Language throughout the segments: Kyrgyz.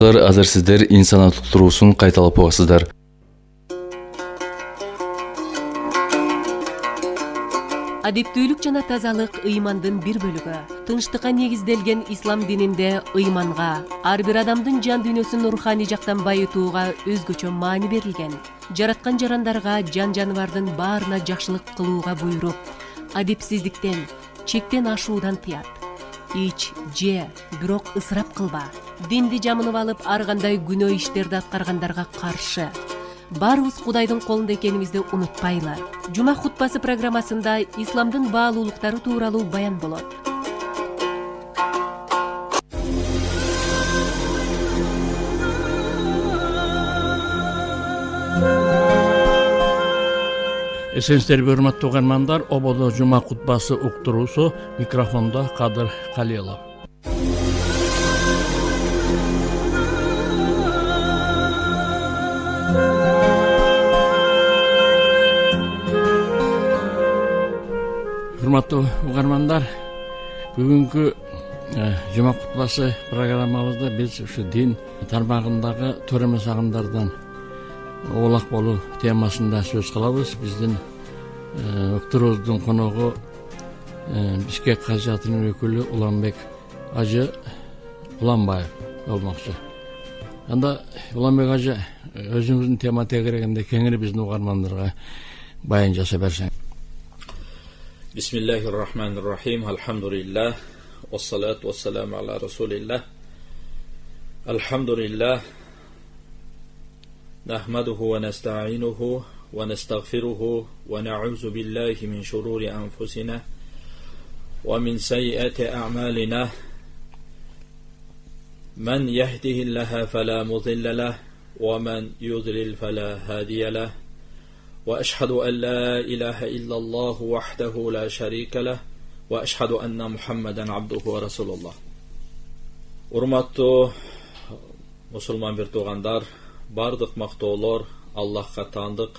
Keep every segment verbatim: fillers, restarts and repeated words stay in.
Азыр сиздер инсанаттык туруусун кайталап угасыздар. Адептүүлүк жана тазалык ыймандын бир бөлүгү. Тынчтыкка негизделген ислам дининде ыйманга, ар бир адамдын жан дүйнөсүн руханий жактан байытууга өзгөчө маани берилген. Жараткан жарандарга, жан жаныбардын баарына жакшылык кылууга буйруп, адепсиздиктен, чектен ашуудан тыят. Ич, же, бирок ысырап кылба. Динди жамынып алып, ар кандай күнөө иштерди аткаргандарга каршы. Баарыбыз Кудайдын колунда экенибизди унутпайлы. Жума хутбасы программасында исламдын баалуулуктары тууралуу баян болот. Эсенсиздерби, урматтуу угармандар, ободо жума хутбасы уктуруусу, микрофондо Кадыр Калилов. Урматтуу угармандар, бүгүнкү жума хутбасы программабызда биз ушу дин тармагындагы туура эмес агымдардан оолак болуу темасында сөз кылабыз. Биздин уктуруубуздун коногу Бишкек кажыатынын өкүлү Уланбек ажы Уланбаев болмокчу. Анда Уланбек ажы, өзүңүздүн тема тегерегинде кеңири биздин угармандарга баян жасап берсең. Бисмиллахир-рахманир-рахим. Алхамдулиллах. Вассалату вассаламу аля расулиллах. Алхамдулиллах. Нахмадуху ва наста'инуху ва настагфируху ва на'узу биллахи мин шурури анфусина ва мин саййати а'малина. Ман яхдихиллаху фала мудилля лаху ва ман юдлил фала хадия лаху. وأشهد أن لا إله إلا الله وحده لا شريك له وأشهد أن محمدا عبده ورسول الله. Урматтуу мусулман бир туугандар, бардык мактоолор Аллахка таандык.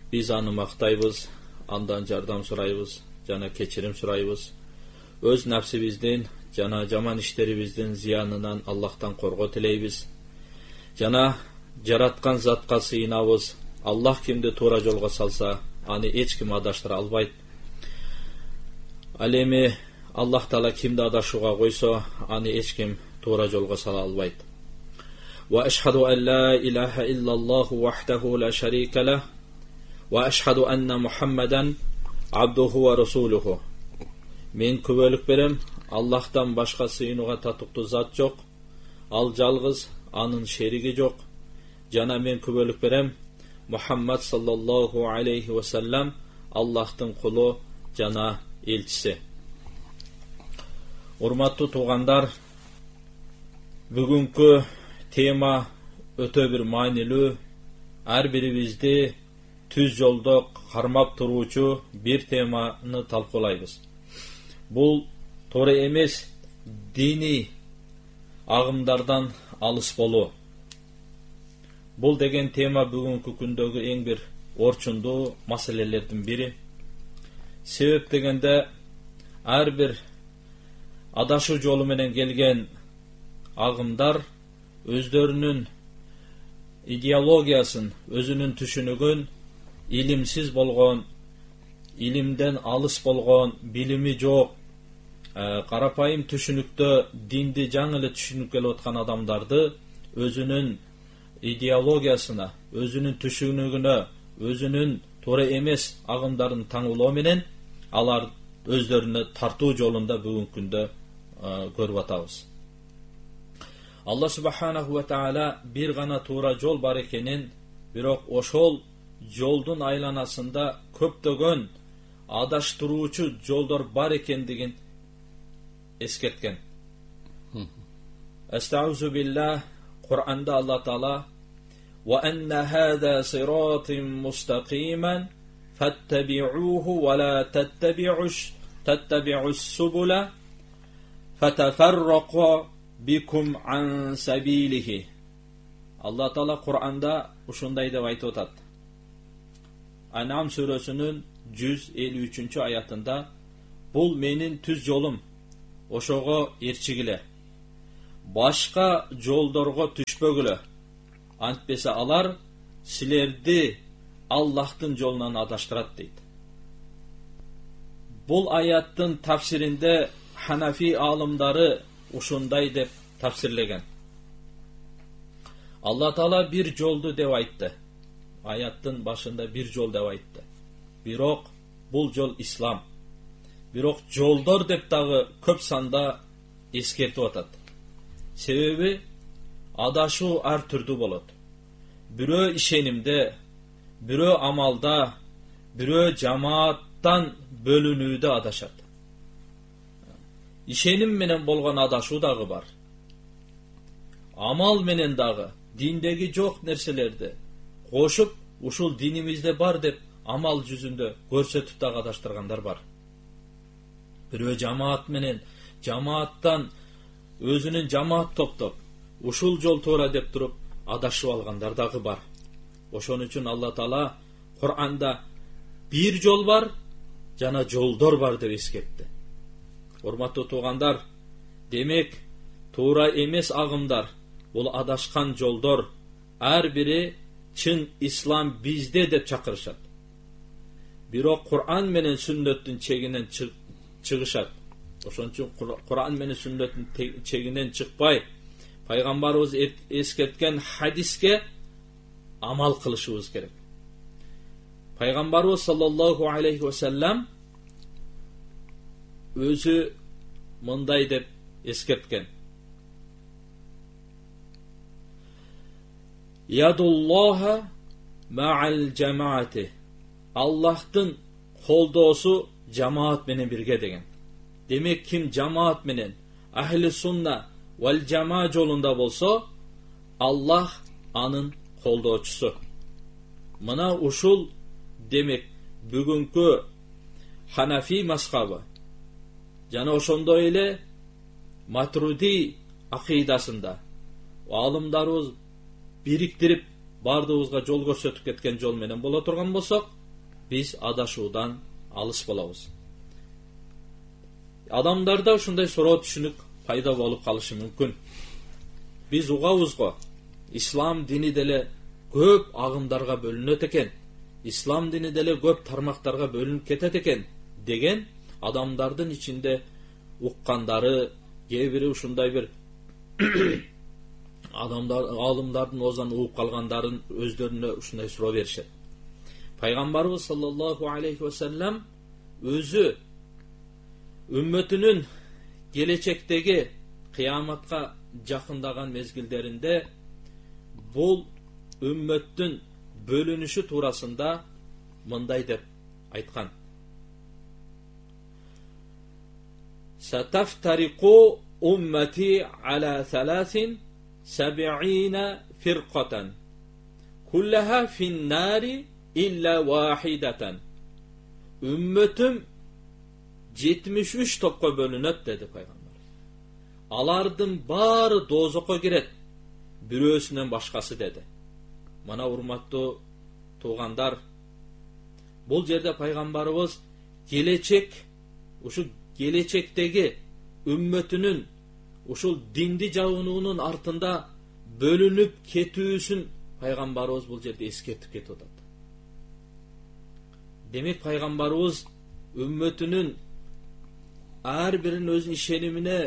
Биз аны мактайбыз, андан жардам сурайбыз жана кечирим сурайбыз. Өз напсибиздин жана жаман иштерибиздин зыянынан Аллахтан коргоо тилейбиз. Жана жараткан затка сыйынабыз. Аллах кимди туура жолго салса, аны эч ким адаштыра албайт. Ал эми Аллах Таала кимди адашууга койсо, аны эч ким туура жолго сала албайт. Ва ашхаду ан ла илаха иллаллаху вахдаху ла шарика лах ва ашхаду анна Мухаммадан абдуху ва расулуху. Мен күбөлүк берем, Аллахтан башка сыйынууга татыктуу зат жок, ал жалгыз, анын шериги жок. Жана мен күбөлүк берем, Мухаммад саллаллаху алейхи ва саллам Аллахтын кулу жана элчиси. Урматтуу туугандар, бүгүнкү тема өтө бир маанилүү, ар бирибизди түз жолдо кармап туруучу бир теманы талкуулайбыз. Бул туура эмес диний агымдардан алыс болуу. Бул деген тема бүгүнкү күндөгү эң бир орчундуу маселелердин бири. Себеп дегенде ар бир адашуу жолу менен келген агымдар өздөрүнүн идеологиясын, өзүнүн түшүнүгүн илимсиз болгон, илимден алыс болгон, билими жок, карапайым түшүнүктө динди жаңы эле түшүнүп келип аткан адамдарды өзүнүн идеологиясына, өзүнүн түшүнүгүнө, өзүнүн туура эмес агымдарын таңуулоо менен алар өздөрүнө тартуу жолунда бүгүнкү күндө көрүп атабыз. Алла субханаху ва таала бир гана туура жол бар экенин, бирок ошол жолдун айланасында көптөгөн адаштыруучу жолдор бар экендигин эскерткен. Астаузу биллах. Кур'анда Алла Таала ва анна хаза сиратин мустақиман фаттаби'уху ва ла таттаби'уш таттаби'ус субула фатафаррaqu бикум ан сабилихи. Алла Таала Кур'анда ушундай деп айтып атат. Ан'ам сүрөсүнүн жүз элүү үчүнчү аятында: "Бул менин түз жолум, ошого ээрчигиле. башка жолдорго түшпөгүлө. Антпесе алар силерди Аллахтын жолунан адаштырат дейт. Бул аяттын тафсиринде Ханафи алымдары ушундай деп тафсирлеген. Алла Таала бир жолду деп айтты. Аяттын башында бир жол деп айтты. Бирок бул жол ислам. Бирок жолдор деп дагы көп санда эскертип атат. Себеби адашуу ар түрдүү болот. Бирөө ишенимде, бирөө амалда, бирөө жамааттан бөлүнүүдө адашат. Ишеним менен болгон адашуу дагы бар. Амал менен дагы диндеги жок нерселерди кошуп, ушул динимизде бар деп амал жүзүндө көрсөтүп дагы адаштыргандар бар. Бирөө жамаат менен, жамааттан өзүнүн жамаат топтоп, ушул жол туура деп туруп адашып алгандар дагы бар. Ошон үчүн Алла Таала Кур'анда бир жол бар, жана жолдор бар деп эскертти. Урматтуу туугандар, демек туура эмес агымдар, бул адашкан жолдор, ар бири чын ислам бизде деп чакырышат. Бирок Кур'ан менен сүннөттүн чегинен чыгышат. Ошон үчүн Кур'ан менен сүннөттүн чегинен чыкпай, пайгамбарыбыз эскерткен хадиске амал кылышыбыз керек. Пайгамбарыбыз саллаллаху алейхи ва саллям өзү мындай деп эскерткен. Ядуллаха ма'ал жамаати. Аллахтын колдоосу жамаат менен бирге деген. Демек ким жамаат менен ахли сунна вал жама жолунда болсо, Аллах анын колдоочусу. Мына ушул демек бүгүнкү Ханафи мазхабы жана ошондой эле Матруди акыйдасында алымдарыбыз бириктирип бардыгыбызга жол көрсөтүп кеткен жол менен боло турган болсок, биз адашуудан алыс болобуз. Адамдарда ушундай суроо түшүнүк пайда болуп калышы мүмкүн. Биз угабыз го, ислам дини деле көп агымдарга бөлүнөт экен, ислам дини деле көп тармактарга бөлүнүп кетет экен деген адамдардын ичинде уккандары, кээ бири ушундай бир адамдар, алымдардын оозунан угуп калгандарын өздөрүнө ушундай суроо беришет. Пайгамбарыбыз саллаллаху алейхи ва саллям өзү үммөтүнүн келечектеги кыяматка жакындаган мезгилдеринде бул үммөттүн бөлүнүшү туурасында мындай деп айткан. Сатафтарику уммати ала саласин саб'ина фиркатан куллаха финнари илля вахидатан. Үммөтүм жетимиш үч топко бөлүнөт деди пайгамбар. Алардын баары дозокко кирет, бирөөсүнөн башкасы деди. Мына урматтуу туугандар, бул жерде пайгамбарыбыз келечек, ушу келечектеги үммөтүнүн ушул динди жабынуунун артында бөлүнүп кетүүсүн пайгамбарыбыз бул жерде эскертип кетип атат. Демек пайгамбарыбыз үммөтүнүн ар биринин өзүнүн ишенимине,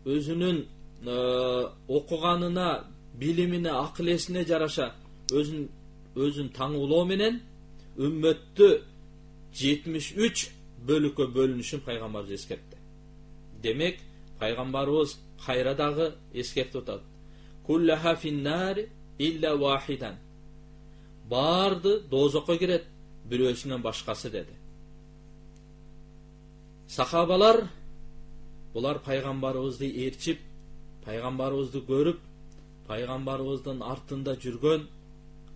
өзүнүн окуганына, билимине, акыл эсине жараша өзүн өзүн таңуулоо менен үммөттү жетимиш үч бөлүккө бөлүнүшүн пайгамбарыбыз эскертти. Демек пайгамбарыбыз кайра дагы эскертип атат. Куллаха финнари илля вахидан. Барды дозокко кирет, бирөөсүнөн башкасы деди. Сахабалар булар пайгамбарыбызды ээрчип, пайгамбарыбызды көрүп, пайгамбарыбыздын артында жүргөн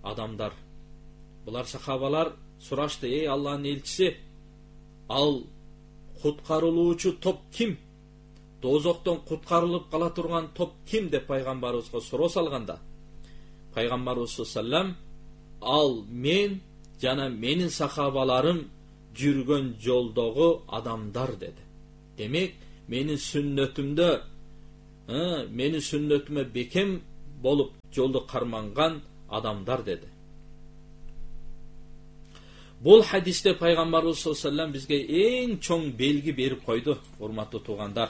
адамдар. Булар сахабалар сурашты: "Эй Аллахтын элчиси, ал куткарылуучу топ ким? Дозоктон куткарылып кала турган топ ким?" деп пайгамбарыбызга суроо салганда, пайгамбарыбыз саллаллаху алейхи ва саллям: "Ал мен жана менин сахабаларым жүргөн жолдогу адамдар" деди. Демек, менин сүннөтүмдө мени сүннөтүмө бекем болуп жолду карманган адамдар деди. Бул хадисте пайгамбарыбыз саллаллаху алейхи ва саллям бизге эң чоң белги берип койду, урматтуу туугандар.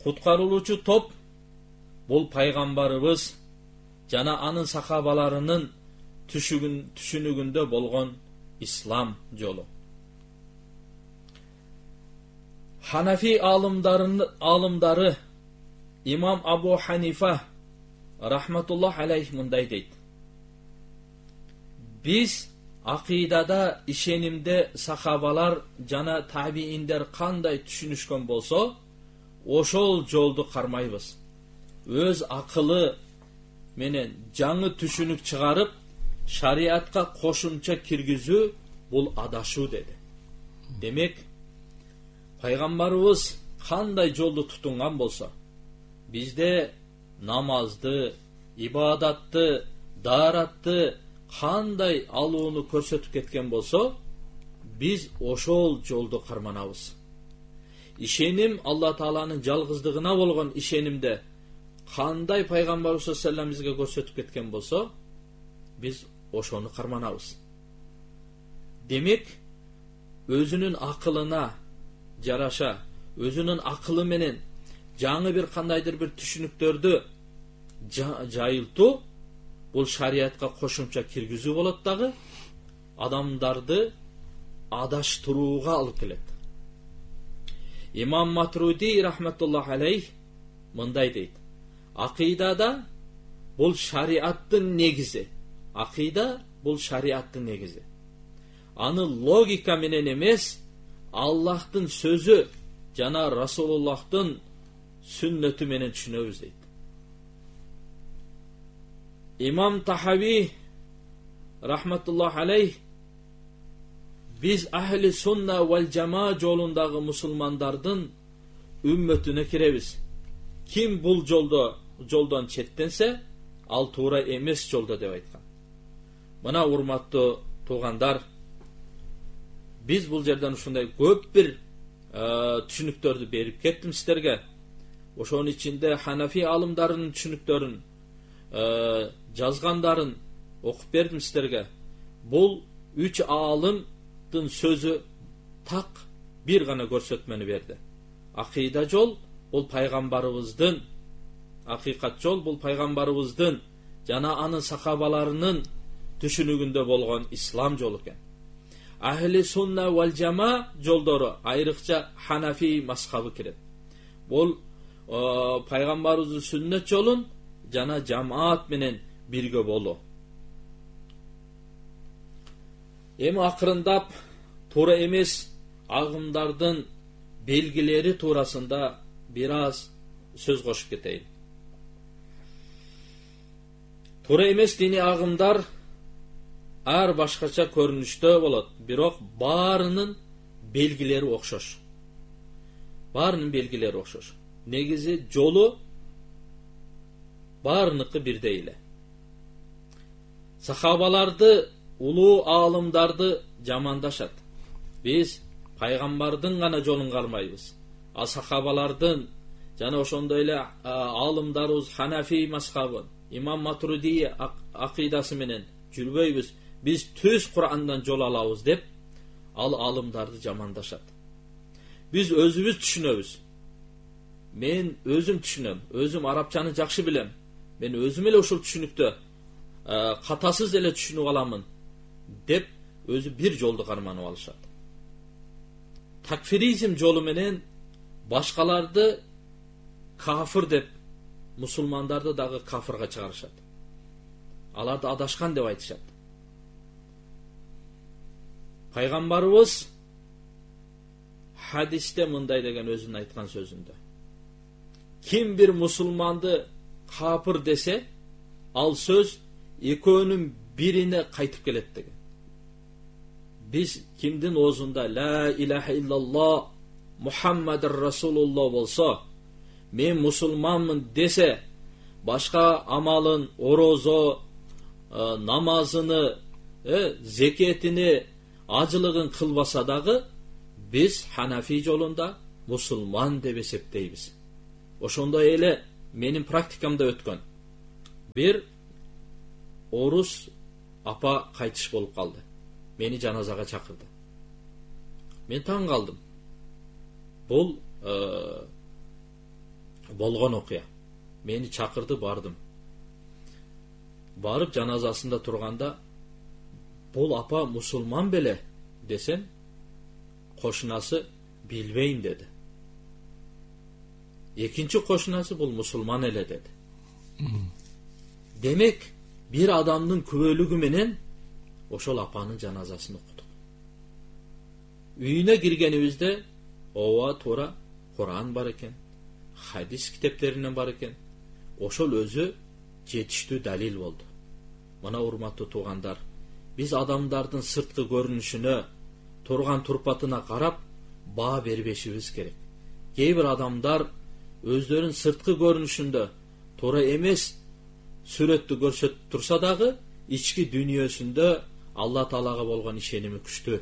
Куткарылуучу топ бул пайгамбарыбыз жана анын сахабаларынын түшүнүгүндө болгон ислам жолу. Ханафи алымдары имам Абу Ханифа рахматуллах алейх мындай дейт: биз акыйдада ишенимде сахабалар жана табииндер кандай түшүнүшкөн болсо, ошол жолду кармайбыз. Өз акылы менен жаңы түшүнүк чыгарып, шариатка кошумча киргизүү бул адашуу деди. Демек, пайгамбарыбыз кандай жолду тутунган болсо, бизде намазды, ибадатты, дааратты кандай алууну көрсөтүп кеткен болсо, биз ошол жолду карманабыз. Ишеним Алла Тааланын жалгыздыгына болгон ишенимде кандай пайгамбарыбыз саллаллаху алейхи ва саллям бизге көрсөтүп кеткен болсо, биз ошону карманабыз. Демек, өзүнүн акылына жараша, өзүнүн акылы менен жаңы бир кандайдыр бир түшүнүктөрдү жайылтуу бул шариатка кошумча киргизүү болот дагы, адамдарды адаштырууга алып келет. Имам Матруди рахматуллах алейх мындай дейт: акыйдада бул шариаттын негизи. Акыйда бул шариаттын негизи. Аны логика менен эмес, Аллахтын сөзү жана Расулуллахтын сүннөтү менен түшүнөбүз дейт. Имам Тахави рахматуллах алейх биз ахли сунна вал жама жолундагы мусулмандардын үммөтүнө киребиз. Ким бул жолдо жолдон четтенсе, ал туура эмес жолдо деп айткан. Мына урматтуу туугандар, биз бул жерден ушундай көп бир түшүнүктөрдү берип кеттим сиздерге. Ошонун ичинде Ханафи алымдарынын түшүнүктөрүн жазгандарын окуп бердим сиздерге. Бул үч аалымдын сөзү так бир гана көрсөтмөнү берди. Акыйда жол бул пайгамбарыбыздын, акыйкат жол бул пайгамбарыбыздын жана анын сахабаларынын түшүнүгүндө болгон ислам жолу экен. Ахли сунна вал жама жолдору айрыкча Ханафи мазхабы кирет. Бул пайгамбарыбыздын сүннөт жолун жана жамаат менен бирге болуу. Эми акырындап туура эмес агымдардын белгилери туурасында бир аз сөз кошуп кетейин. Туура эмес дини агымдар ар башкача көрүнүштө болот, бирок баарынын белгилери окшош. Баарынын белгилери окшош. Негизи жолу баарыныкы бирдей эле. Сахабаларды, улуу аалымдарды жамандашат. Биз пайгамбардын гана жолун кармайбыз. А сахабалардын жана ошондой эле аалымдарыбыз Ханафи мазхабын, Имам Матруди акыйдасы менен жүрбөйбүз. Биз түз Курандан жол алабыз деп ал аалымдарды жамандашат. Биз өзүбүз түшүнөбүз. Мен өзүм түшүнөм, өзүм арабчаны жакшы билем. Мен өзүм эле ушул түшүнүктө катасыз эле түшүнүп аламын деп өзү бир жолду карманып алышат. Такфиризм жолу менен башкаларды кафыр деп, мусулмандарды дагы кафырга чыгарышат. Аларды адашкан деп айтышат. Пайгамбарыбыз хадисте мындай деген өзүнүн айткан сөзүндө: ким бир мусулманды кафыр десе, ал сөз экөөнүн бирине кайтып келет деген. Биз кимдин оозунда ла илаха иллаллах Мухаммадыр Расулуллах болсо, мен мусулманмын десе, башка амалын, орозо, намазыны, зекетини, ажылыгын кылбаса дагы, биз Ханафи жолунда мусулман деп эсептейбиз. Ошондой эле менин практикамда өткөн бир орус апа кайтыш болуп калды. Мени жаназага чакырды. Мен таң калдым. Бул э, болгон окуя. Мени чакырды, бардым. Барып жаназасында турганда, бул апа мусулман беле десем, кошунасы билбейм деди. Экинчи кошунасы бул мусулман эле деди. Демек, бир адамдын күбөлүгү менен ошол апанын жаназасын окудук. Үйүнө киргенибизде ооба туура Куран бар экен, хадис китептеринен бар экен. Ошол өзү жетиштүү далил болду. Мына урматтуу туугандар, биз адамдардын сырткы көрүнүшүнө, турган турпатына карап баа бербешибиз керек. Кээ бир адамдар өздөрүнүн сырткы көрүнүшүндө туура эмес сүрөттү көрсөтүп турса дагы, ички дүйнөсүндө Алла Таалага болгон ишеними күчтүү.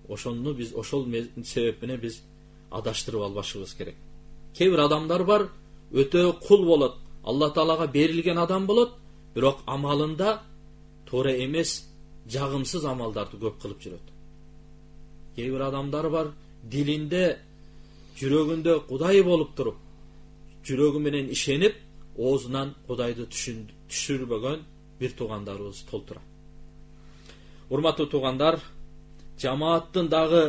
Ошону биз ошол себеп менен биз адаштырып албашыбыз керек. Кээ бир адамдар бар, өтө кул болот, Алла Таалага берилген адам болот, бирок амалында туура эмес, жагымсыз амалдарды көп кылып жүрөт. Кээ бир адамдар бар, дилинде, жүрөгүндө Кудай болуп туруп, жүрөгү менен ишенип, оозунан Кудайды түшүрбөгөн бир туугандарыбыз толтура. Урматтуу туугандар, жамааттын дагы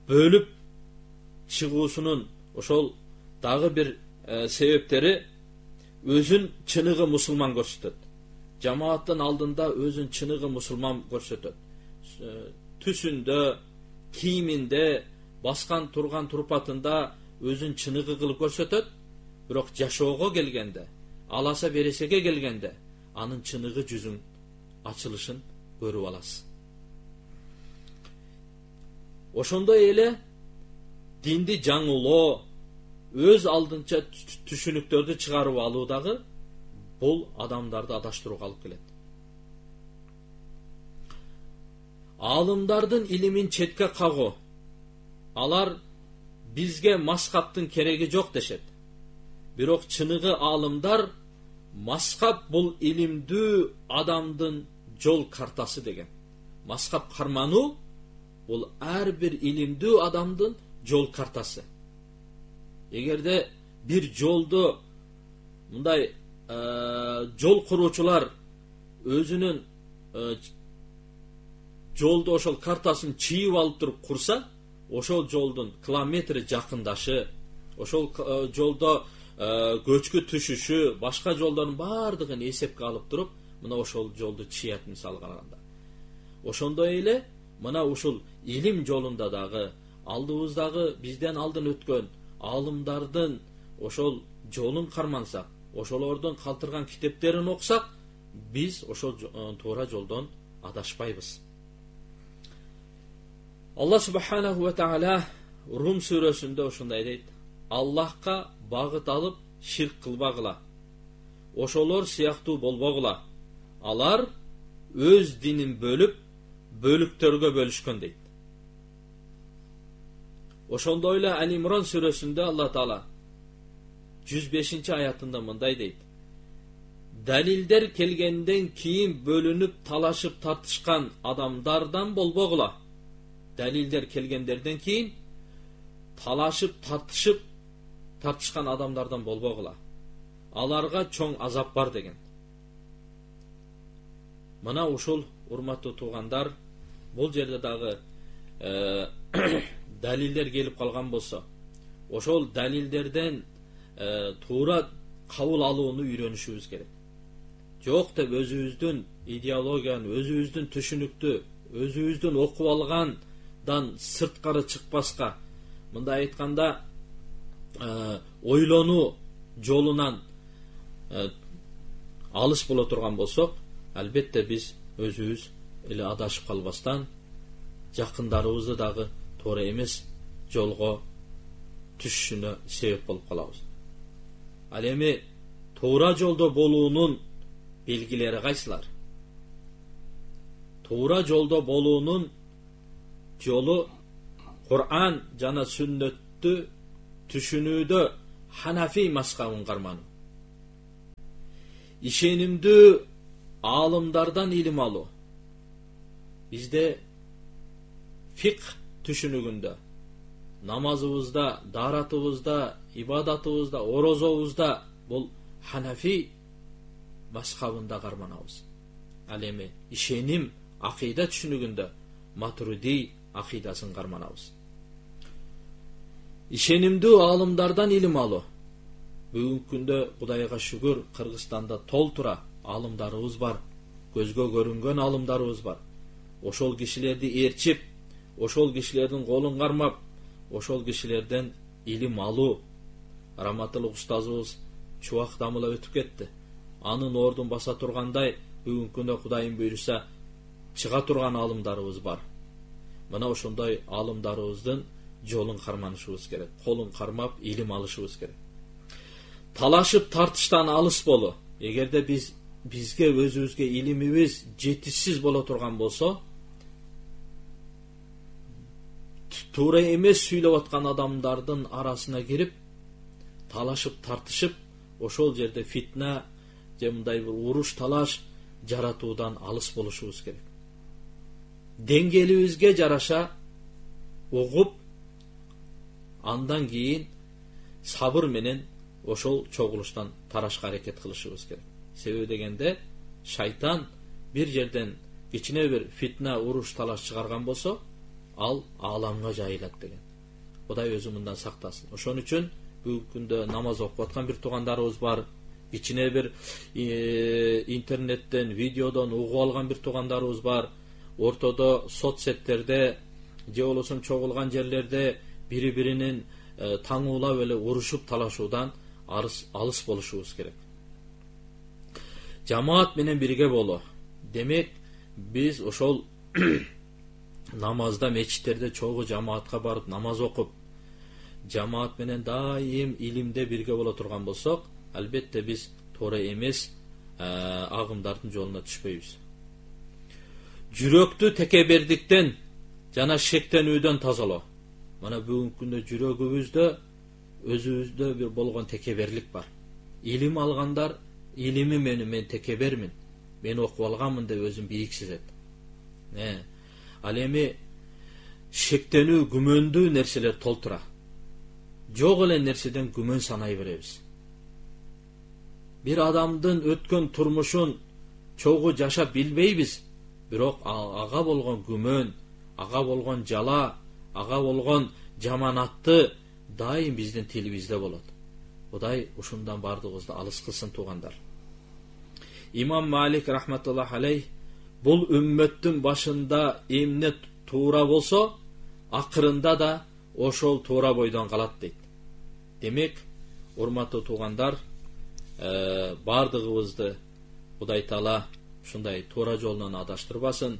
бөлүп чыгуусунун ошол дагы бир э, себептери өзүн чыныгы мусулман көрсөтөт. Жамааттын алдында өзүн чыныгы мусулман көрсөтөт. Түсүндө, кийиминде, баскан турган турпатында өзүн чыныгы кылып көрсөтөт. Бирок жашоого келгенде, аласа бересеге келгенде, анын чыныгы жүзүн ачылышын көрүп аласыз. Ошондой эле динди жаңылоо, өз алдынча түшүнүктөрдү чыгарып алуу дагы бул адамдарды адаштырууга алып келет. Алымдардын илимин четке кагуу. Алар бизге маскаптын кереги жок дешет. Бирок чыныгы алымдар маскап бул илимдүү адамдын жол картасы деген. Маскап кармануу бул ар бир илимдүү адамдын жол картасы. Эгерде бир жолду мындай э, жол куруучулар өзүнүн э, жолду ошол картасын чийип алып туруп курса, ошол жолдун километри жакындашы, ошол э, жолдо э, көчкү түшүшү, башка жолдордун баардыгын эсепке алып туруп, мына ошол жолду чият мисалы караганда. Ошондой эле мына ушул илим жолунда дагы алдыбыздагы бизден алдын өткөн алымдардын ошол жолун кармансак, ошолордун калтырган китептерин окусак, биз ошол туура жолдон адашпайбыз. Алла субханаху ва таала Рум сүрөсүндө ошондой дейт: Аллахка багыт алып ширк кылбагыла. Ошолор сыяктуу болбогула. Алар өз динин бөлүп, бөлүктөргө бөлүшкөн дейт. Ошондой эле Али-Имран сүрөсүндө Алла Таала жүз бешинчи аятында мындай дейт: Далилдер келгенден кийин бөлүнүп талашып тартышкан адамдардан болбогула. Далилдер келгендерден кийин талашып тартышып тартышкан адамдардан болбогула. Аларга чоң азап бар деген. Мына ушул урматтуу туугандар, бул жерде дагы э, далилдер келип калган болсо, ошол далилдерден э, туура кабыл алууну үйрөнүшүбүз керек. Жок деп өзүбүздүн идеологияны, өзүбүздүн түшүнүктү, өзүбүздүн окуп алгандан сырткары чыкпаска, мындай айтканда э, ойлонуу жолунан э, алыс боло турган болсок, албетте биз өзүбүз эле адашып калбастан жакындарыбызды дагы туура эмес жолго түшүшүнө себеп болуп калабыз. Ал эми туура жолдо болуунун белгилери кайсылар? Туура жолдо болуунун жолу Кур'ан жана сүннөттү түшүнүүдө Ханафи мазхабын кармануу. Ишенимдүү аалымдардан илим алуу. Бизде фикх түшүнүгүндө, намазыбызда, дааратыбызда, ибадатыбызда, орозобузда бул Ханафи мазхабында карманабыз. Ал эми ишеним, акыйда түшүнүгүндө Матуриди акыйдасын карманабыз. Ишенимдүү аалымдардан илим алуу. Бүгүнкү күндө Кудайга шүгүр, Кыргызстанда толтура аалымдарыбыз бар, көзгө көрүнгөн аалымдарыбыз бар. Ошол кишилерди ээрчип, ошол кишилердин колун кармап, ошол кишилерден илим алуу. Раматылык устазыбыз чубак дамыла өтүп кетти. Анын ордун баса тургандай, бүгүнкү күндө Кудайым буйруса чыга турган аалымдарыбыз бар. Мына ошондой аалымдарыбыздын жолун карманышыбыз керек. Колун кармап илим алышыбыз керек. Талашып тартыштан алыс болуу. Эгерде биз бизге өзүбүзгө илимибиз жетишсиз боло турган болсо, туура эмес сүйлөп аткан адамдардын арасына кирип, талашып тартышып, ошол жерде фитна же мындай бир уруш талаш жаратуудан алыс болушубуз керек. Деңгээлибизге жараша угуп, андан кийин сабыр менен ошол чогулуштан тарашка аракет кылышыбыз керек. Себеби дегенде шайтан бир жерден кичине бир фитна, уруш талаш чыгарган болсо, ал ааламга жайылат деген. Кудай өзү мындан сактасын. Ошон үчүн бүгүнкү күндө намаз окуп аткан бир туугандарыбыз бар. Кичине бир э, интернеттен, видеодон угуп алган бир туугандарыбыз бар. Ортодо соцсеттерде же болбосо чогулган жерлерде бири-биринин э, таңуулап эле урушуп талашуудан алыс, алыс болушубуз керек. Жамаат менен бирге болуу. Демек, биз ошол намазда, мечиттерде чогуу жамаатка барып намаз окуп, жамаат менен дайым илимде бирге боло турган болсок, албетте биз туура эмес агымдардын жолуна түшпөйбүз. Жүрөктү текебердиктен жана шектенүүдөн тазалоо. Мына бүгүнкү күндө жүрөгүбүздө, өзүбүздө бир болгон текеберлик бар. Илим алгандар, илими мени мен текебермин, мен окуп алганмын деп өзүн бийик сезет. Не? Ал эми шектенүү, күмөндүү нерселер толтура. Жок эле нерседен күмөн санай беребиз. Бир адамдын өткөн турмушун чогуу жашап билбейбиз, бирок ага болгон күмөн, ага болгон жала, ага болгон жаманатты дайым биздин тилибизде болот. Кудай ушундан бардыгыбызды алыс кылсын туугандар. Имам Малик рахматуллах алейх бул үммөттүн башында эмне туура болсо, акырында да ошол туура бойдон калат дейт. Демек, урматтуу туугандар, э, бардыгыбызды Кудай Таала ушундай туура жолдон адаштырбасын.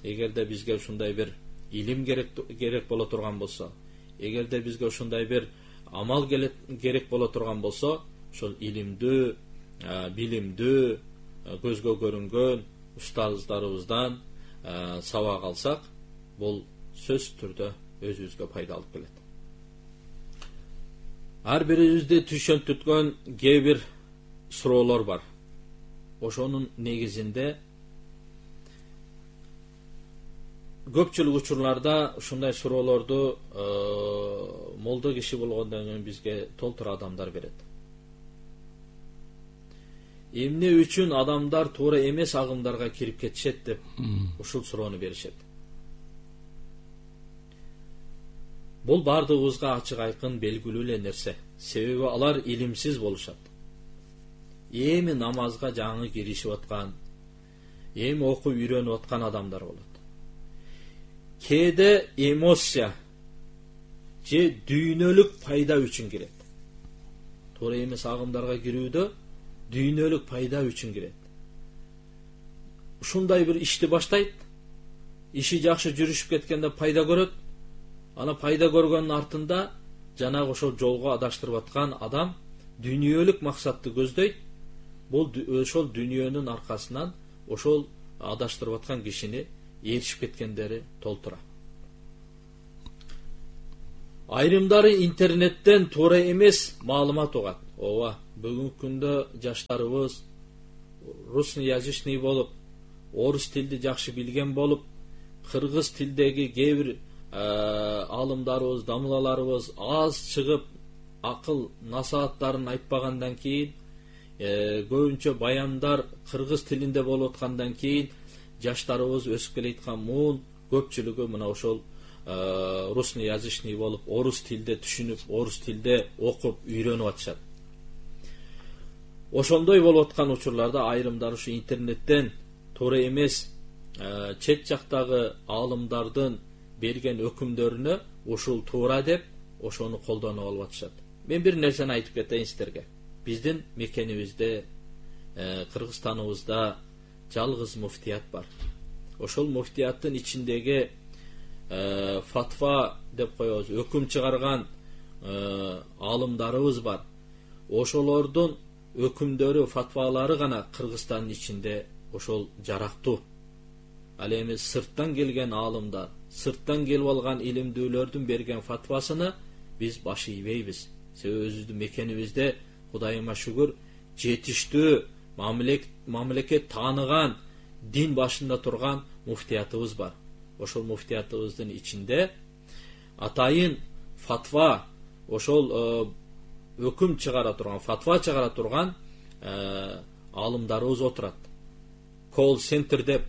Эгерде бизге ушундай бир илим керек керек боло турган болсо, эгерде бизге ушундай бир амал керек боло турган болсо, ошол илимдүү, билимдүү, көзгө көрүнгөн устаздарыбыздан сабак алсак, бул сөз түрдө өзүбүзгө пайда алып келет. Ар бирибизди түшүнтүткөн кээ бир суроолор бар. Ошонун негизинде көпчүлүк учурларда ушундай суроолорду молдо киши болгондон кийин бизге толтура адамдар берет. Эмне үчүн адамдар туура эмес агымдарга кирип кетишет деп ушул суроону беришет. Бул бардыгыбызга ачык айкын белгилүү эле нерсе. Себеби алар илимсиз болушат. Эми намазга жаңы киришип аткан, эми окуп үйрөнүп аткан адамдар болот. Кээде эмоция же дүйнөлүк пайда үчүн кирет. Туура эмес агымдарга кирүүдө дүйнөлүк пайда үчүн кирет. Ушундай бир ишти баштайт, иши жакшы жүрүшүп кеткенде пайда көрөт, ана пайда көргөндүн артында жанагы ошол жолго адаштырып аткан адам дүйнөлүк максатты көздөйт. Бул ошол дүйнөнүн аркасынан ошол адаштырып аткан кишини ээрчип кеткендери толтура. Айрымдары интернеттен туура эмес маалымат угат. Ооба, бүгүнкү күндө жаштарыбыз русноязычный болуп, орус тилди жакшы билген болуп, кыргыз тилдеги кээ бир алымдарыбыз, дамылаларыбыз аз чыгып, акыл насааттарын айтпагандан кийин, көбүнчө баяндар кыргыз тилинде болуп аткандан кийин, жаштарыбыз өсүп келаткан муун көпчүлүгү мына ошол русноязычный болуп, орус тилде түшүнүп, орус тилде окуп, үйрөнүп атышат. Ошондой болуп аткан учурларда айрымдар ушу интернеттен туура эмес чет жактагы алымдардын берген өкүмдөрүнө ушул туура деп ошону колдонуп алып атышат. Мен бир нерсени айтып кетейин сиздерге. Биздин мекенибизде, Кыргызстаныбызда жалгыз муфтият бар. Ошол муфтияттын ичиндеги фатва деп коебуз, өкүм чыгарган алымдарыбыз бар. Ошолордун өкүмдөрү, фатвалары гана Кыргызстандын ичинде ошол жарактуу. Ал эми сырттан келген алымдар, сырттан келип алган илимдүүлөрдүн берген фатвасыны биз баш ийбейбиз. Себеби өзүбүздүн мекенибизде Кудайыма шүгүр жетиштүү, мамлекет тааныган, дин башында турган муфтиятыбыз бар. Ошол муфтиятыбыздын ичинде атайын фатва, ошол өкүм чыгара турган, фатва чыгара турган алымдарыбыз отурат. Call center деп,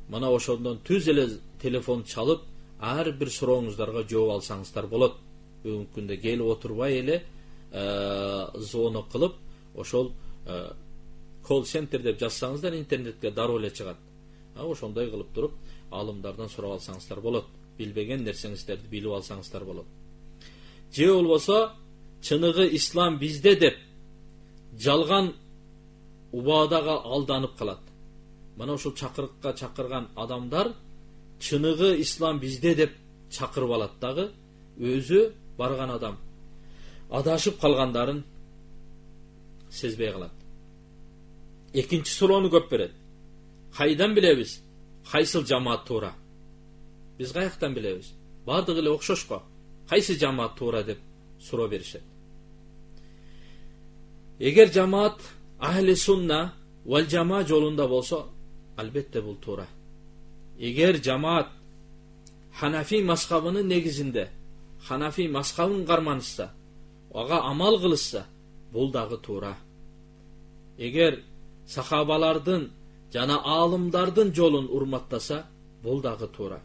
мына ошондон түз эле телефон чалып, ар бир сурооңуздарга жооп алсаңыздар болот. Бүгүнкү күндө келип отурбай эле звонок кылып, ошол call center деп жазсаңыздар интернетке дароо эле чыгат. Ошондой кылып туруп алымдардан сурап алсаңыздар болот. Билбеген нерсеңиздерди билип алсаңыздар болот. Же болбосо чыныгы ислам бизде деп жалган убадага алданып калат. Мына ошол чакырыкка чакырган адамдар чыныгы ислам бизде деп чакырып алат дагы, өзү барган адам адашып калгандарын сезбей калат. Экинчи суроону көп берет. Кайдан билебиз? Кайсыл жамаат туура? Биз каяктан билебиз? Бардыгы эле окшош го. Кайсы жамаат туура деп суроо беришет. Эгер жамаат ахли сунна вал жама жолунда болсо, албетте бул туура. Эгер жамаат Ханафи мазхабынын негизинде, Ханафи мазхабын карманышса, ага амал кылышса, бул дагы туура. Эгер сахабалардын жана алымдардын жолун урматтаса, бул дагы туура.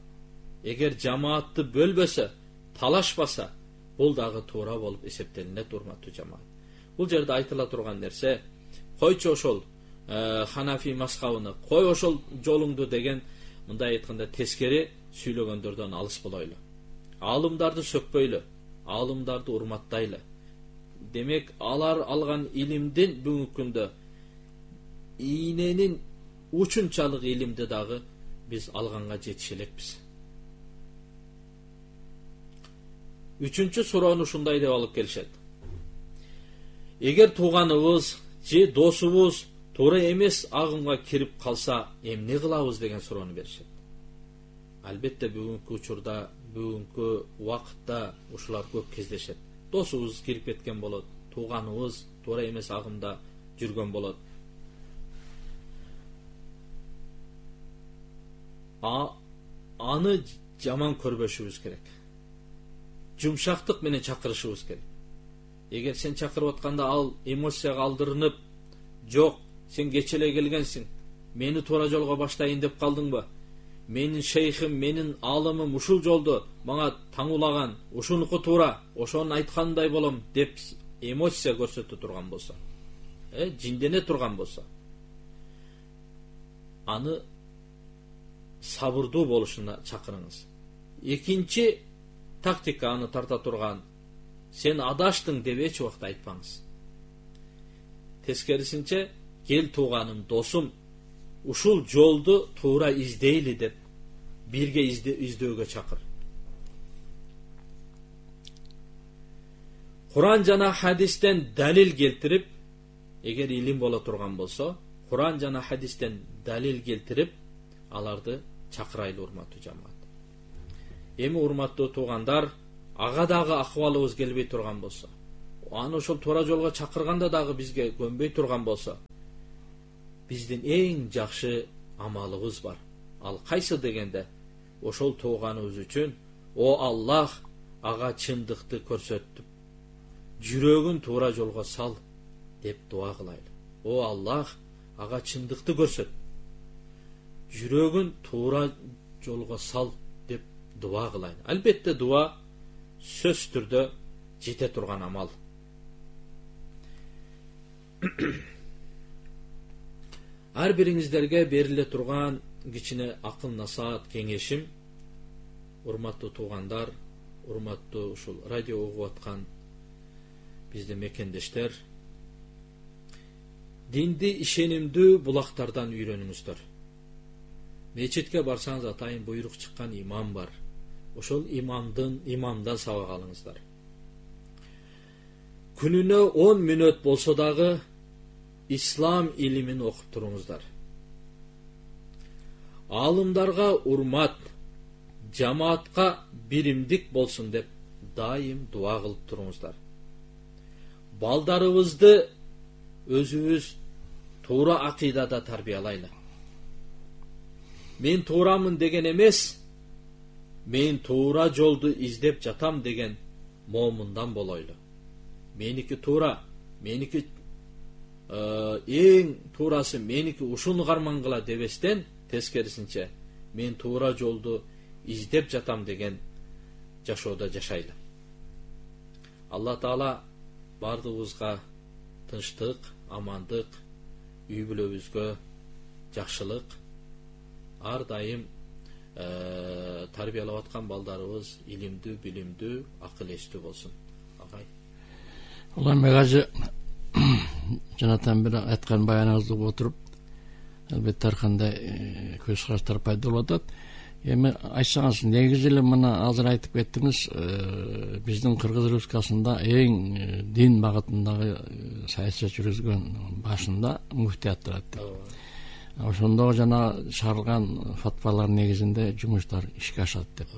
Эгер жамаатты бөлбөсө, талашпаса, бул дагы туура болуп эсептелинет, урматтуу жамаат. Бул жерде айтыла турган нерсе, койчу ошол Ханафи мазхабыны, кой ошол жолуңду деген, мындай айтканда тескери сүйлөгөндөрдөн алыс болойлу. Алымдарды сөкпөйлү, алымдарды урматтайлы. Демек, алар алган илимдин бүгүнкү күндө ийненин учунчалык илимди дагы биз алганга жетише элекпиз. Үчүнчү суроону ушундай деп алып келишет. Эгер тууганыбыз же досубуз туура эмес агымга кирип калса, эмне кылабыз деген суроону беришет. Албетте бүгүнкү учурда, бүгүнкү убакытта ушулар көп кездешет. Досубуз кирип кеткен болот, тууганыбыз туура эмес агымда жүргөн болот. А аны жаман көрбөшүбүз керек. Жумшактык менен чакырышыбыз керек. Эгер сен чакырып атканда ал эмоцияга алдырынып, жок, сен кече эле келгенсиң, мени туура жолго баштайын деп калдыңбы? Менин шейхим, менин алымым ушул жолду мага таңулаган, ушунуку туура, ошонун айткандай болом деп эмоция көрсөтө турган болсо, э, жиндене турган болсо, аны сабырдуу болушуна чакырыңыз. Экинчи тактика аны тарта турган, сен адаштың деп эч убакта айтпаңыз. Тескерисинче, кел тууганым, досум, ушул жолду туура издейли деп бирге издөөгө чакыр. Куран жана хадистен далил келтирип, эгер илим боло турган болсо, Куран жана хадистен далил келтирип, аларды чакырайлы, урматтуу жамаат. Эми урматтуу туугандар, ага дагы акыбалыбыз келбей турган болсо, аны ошол туура жолго чакырганда дагы бизге көнбөй турган болсо, биздин эң жакшы амалыбыз бар. Ал кайсы дегенде, ошол тууганыбыз үчүн о Аллах ага чындыкты көрсөттүп, жүрөгүн туура жолго сал деп дуа кылайлы. О Аллах ага чындыкты көрсөт, жүрөгүн туура жолго сал деп дуа кылайлы. Албетте дуа сөз түрдө жете турган амал. Ар бириңиздерге бериле турган кичине акыл насаат кеңешим, урматтуу туугандар, урматтуу ушул радио угуп аткан биздин мекендештер, динди ишенимдүү булактардан үйрөнүңүздөр. Мечитке барсаңыз атайын буйрук чыккан имам бар. Ошол имамдын имамдан сабак алыңыздар. Күнүнө он мүнөт болсо дагы ислам илимин окуп туруңуздар. Алымдарга урмат, жамаатка биримдик болсун деп дайым дуа кылып туруңуздар. Балдарыбызды өзүбүз туура акыйдада тарбиялайлы. Мен туурамын деген эмес, мен туура жолду издеп жатам деген момундан болойлу. Меники туура, меники эң туурасы меники ушуну кармангыла дебестен, тескерисинче мен туура жолду издеп жатам деген жашоодо жашайлы. Алла Таала бардыгыбызга тынчтык, амандык, үй бүлөбүзгө жакшылык, ар дайым тарбиялап аткан балдарыбыз илимдүү, билимдүү, акыл эстүү болсун. Агай. Улам мегажы жанатан бир айткан баяныңызды угуп отуруп, албетте ар кандай көз караштар пайда болуп атат. Эми айтсаңыз, негизи эле мына азыр айтып кеттиңиз, биздин Кыргыз Республикасында эң дин багытындагы саясат жүргүзгөн башында муфтият турат. Ошондо жана чыгарылган фатвалар негизинде жумуштар ишке ашат деп.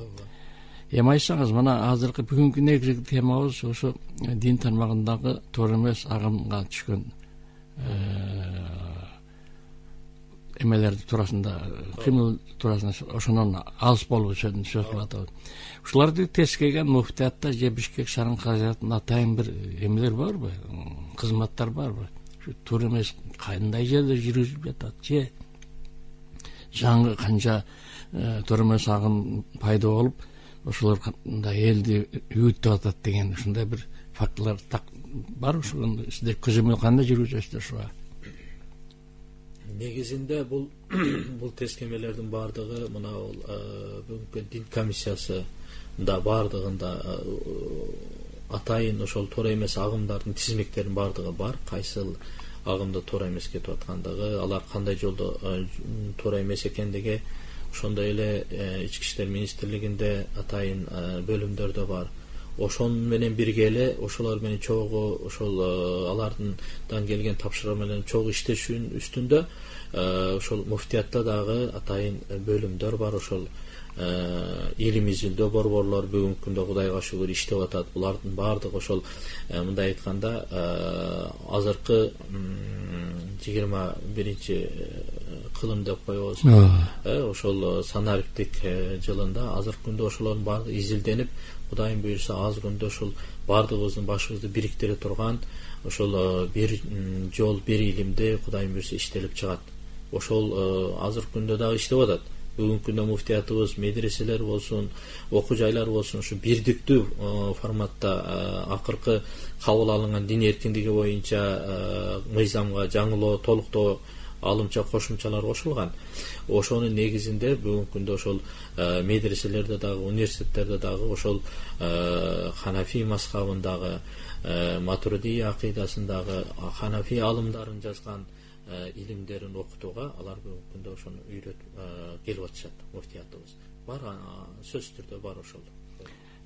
Эми айтсаңыз, мына азыркы бүгүнкү негизги темабыз ошо дин тармагындагы туура эмес агымга түшкөн эмелерди туурасында, кыймыл туурасында ошонун алыс болуу үчүн сөз кылып атабыз. Ушуларды тескейген муфтиятта же Бишкек шаарынын каражатында атайын бир эмелер барбы, кызматтар барбы? Туура эмес кандай жерде жүргүзүлүп жатат, же жаңы канча туура эмес агым пайда болуп, ошолор элди үйүтүп атат деген ушундай бир фактылар бар. Ошону сиздер көзөмөл кандай жүргүзөсүздөр ушуга? Негизинде бул бул тескемелердин бардыгы мына бүгүнкү дин комиссиясында бардыгында атайын ошол туура эмес агымдардын тизмектеринин бардыгы бар. Кайсыл агымда туура эмес кетип аткандыгы, алар кандай жолдо туура эмес экендиги ошондой эле ички иштер министрлигинде атайын бөлүмдөрдө бар. Ошон менен бирге эле ошолор менен чогуу ошол алардан келген тапшырма менен чогуу иштешүүнүн үстүндө ошол муфтиятта дагы атайын бөлүмдөр бар. Ошол илим изилдөө борборлор бүгүнкү күндө Кудайга шүгүр иштеп атат. Булардын бардыгы ошол мындай айтканда азыркы жыйырма биринчи кылым деп коебуз. Ошол санариптик жылында азыркы күндө ошолордун баардыгы изилденип, Кудайым буйрса аз күндө ошол бардыгыбыздын башыбызды бириктире турган ошол бир жол, бир илимде Кудайым буйрса иштелип чыгат. Ошол азыркы күндө дагы иштеп атат. Бүгүнкү күндө муфтиятыбыз, медреселер болсун, окуу жайлар болсун, ушу бирдиктүү форматта акыркы кабыл алынган дин эркиндиги боюнча мыйзамга жаңылоо, толуктоо, алымча кошумчалар кошулган. Ошонун негизинде бүгүнкү күндө ошол медреселерде дагы, университеттерде дагы ошол Ханафи мазхабындагы, Матуридий акыйдасындагы Ханафи алымдарын жазган илимдерин окутууга алар бүгүнкү күндө ошону үйрөтүп келип атышат. Муфтиятыбыз бар, сөзсүз түрдө бар ошол.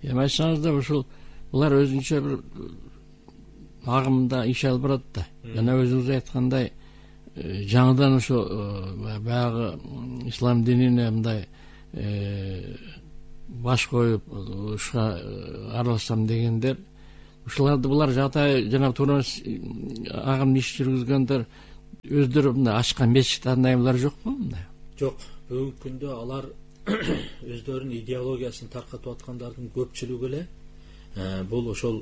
Эми айтсаңыздар, ошол булар өзүнчө бир агымда иш алып барат да. Жана өзүңүз айткандай, жаңыдан ошо баягы ислам динине мындай баш коюп ушуга аралашсам дегендер, ушуларды булар жагдай жана туура агым иш жүргүзгөндөр өздөрү мындай ачкан мечит андайлар жокпу? Мындай жок. Бүгүнкү күндө алар өздөрүнүн идеологиясын таркатып аткандардын көпчүлүгү эле бул ошол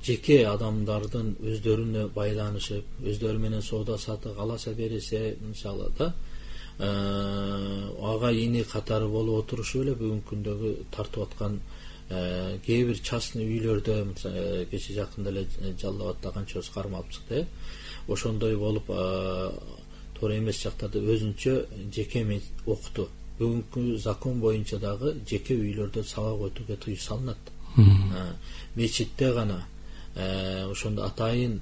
жеке адамдардын өздөрүнө байланышып, өздөрү менен соода саттык аласа берисе, мисалы да ага ини катары болуп отурушу эле бүгүнкү күндөгү тартып аткан кээ бир частный үйлөрдө, кече жакында эле Жалал Абадта канчабыз кармалып чыкты, ошондой болуп туура эмес жактарда өзүнчө жеке окутуу. Бүгүнкү закон боюнча дагы жеке үйлөрдө сабак өтүүгө тыюу салынат. Мечитте гана ошондо атайын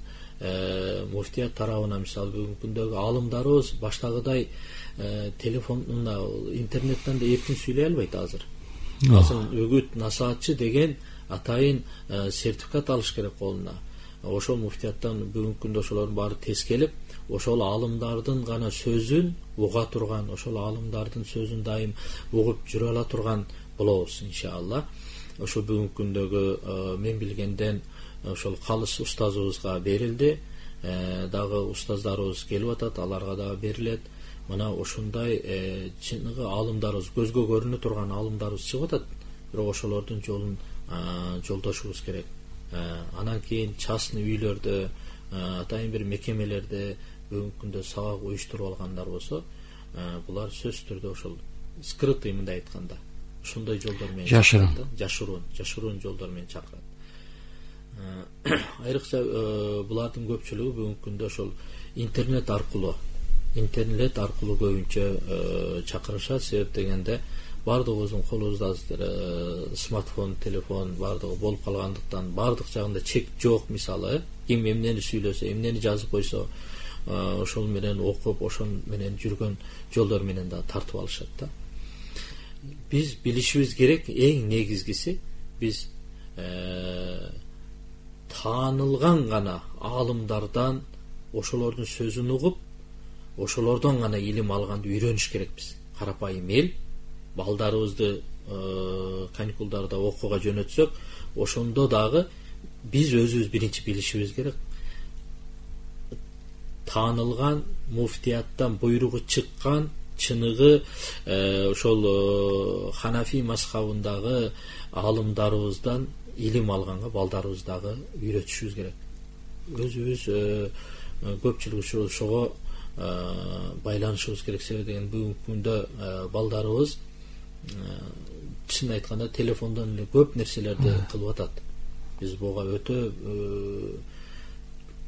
муфтият тарабынан, мисалы бүгүнкү күндөгү аалымдарыбыз баштагыдай телефон мына интернеттен да эркин сүйлөй албайт азыр. Азыр үгүт насаатчы деген атайын сертификат алыш керек колуна. Ошол муфтияттан бүгүнкү күндө ошолордун баары тескелип, ошол аалымдардын гана сөзүн уга турган, ошол аалымдардын сөзүн дайым угуп жүрө ала турган болобуз иншалла. Ошол бүгүнкү күндөгү мен билгенден ошол калыс устазыбызга берилди, дагы устаздарыбыз келип атат, аларга дагы берилет. Мына ошондой чыныгы аалымдарыбыз, көзгө көрүнө турган аалымдарыбыз чыгып атат, бирок ошолордун жолун жолдошубуз керек. Анан кийин частный үйлөрдө, атайын бир мекемелерде бүгүнкү күндө сабак уюштуруп алгандар болсо, булар сөзсүз түрдө ошол скрытый мындай айтканда ушундай жолдор менен жашырын жашыруун жашыруун жолдор менен чакырат. Айрыкча булардын көпчүлүгү бүгүнкү күндө ошол интернет аркылуу интернет аркылуу көбүнчө чакырышат. Себеп дегенде баардыгыбыздын колубузда азыр смартфон, телефон баардыгы болуп калгандыктан баардык жагында чек жок. Мисалы ким эмнени сүйлөсө, эмнени жазып койсо, ошол менен окуп, ошол менен жүргөн жолдор менен да тартып алышат да. Биз билишибиз керек, эң негизгиси биз таанылган гана аалымдардан ошолордун сөзүн угуп, ошолордон гана илим алганды үйрөнүш керекпиз. Карапайым эл балдарыбызды каникулдарда окууга жөнөтсөк, ошондо дагы биз өзүбүз биринчи билишибиз керек. Таанылган муфтияттан буйругу чыккан чыныгы ошол Ханафи мазхабындагы аалымдарыбыздан илим алганга балдарыбыз дагы үйрөтүшүбүз керек. Өзүбүз көпчүлүк ошого байланышыбыз керек. Себеп деген бүгүнкү күндө балдарыбыз чын айтканда телефондон эле көп нерселерди кылып атат. Биз буга өтө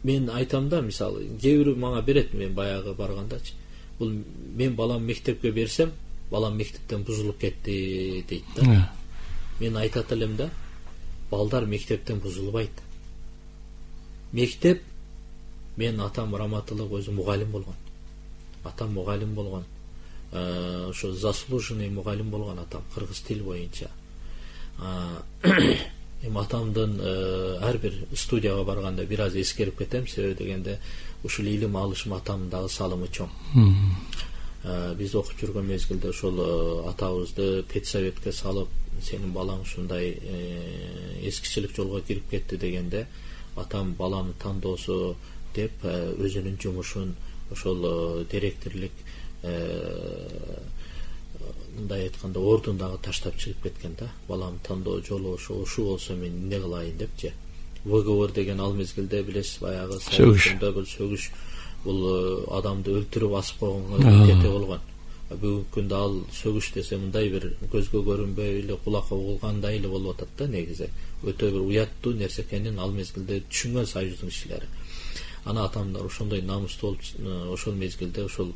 мен айтам да, мисалы кээ бирөө мага берет, мен баягы баргандачы, бул мен балам мектепке берсем, балам мектептен бузулуп кетти дейт да. Мен айтат элем да, балдар мектептен бузулбайт. Мектеп, мен атам раматылык өзү мугалим болгон. Атам мугалим болгон. Ошо заслуженный мугалим болгон атам, кыргыз тил боюнча. Эми атамдын ар бир студияга барганда бир аз эскерип кетем, себеби дегенде ушул илим алышым атамдын дагы салымы чоң. Биз окуп жүргөн мезгилде ошол атабызды педсоветке салып, сенин балаң ушундай эскичилик жолго кирип кетти дегенде, атам баланы тандоосу деп өзүнүн жумушун ошол директорлук мындай айтканда ордун дагы таштап чыгып кеткен да. Балам тандоо жолу ошо болсо мен эмне кылайын депчи. Выговор деген ал мезгилде билесиз, баягы сөгүштө бул сөгүш, бул адамды өлтүрүп асып койгонго кете болгон. Бүгүнкү күндө ал сөгүш десе мындай бир көзгө көрүнбөй эле, кулакка угулгандай эле болуп атат да. Негизи өтө бир уяттуу нерсе экенин ал мезгилде түшүнгөн союздун кишилери. Ана атамдар ошондой намустуу болуп, ошол мезгилде ошол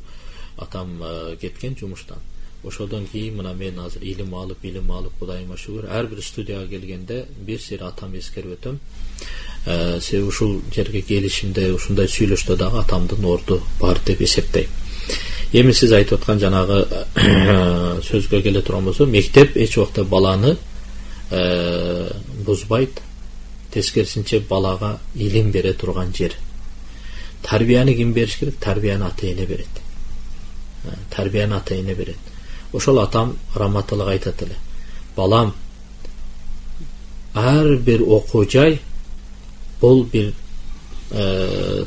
атам кеткен жумуштан. Ошодон кийин мына мен азыр илим алып, илим алып, Кудайыма шүгүр, ар бир студияга келгенде бир сыйр атам эскерип өтөм. Себеби ушул жерге келишимде, ушундай сүйлөштө дагы атамдын орду бар деп эсептейм. Эми сиз айтып аткан жанагы сөзгө келе турган болсо, мектеп эч убакта баланы бузбайт, тескерисинче балага илим бере турган жер. Тарбияны ким бериш керек? Тарбияны ата-эне берет. Тарбияны ата-эне берет. Ошол атам раматылык айтат эле. балам, ар бир окуу жай бул бир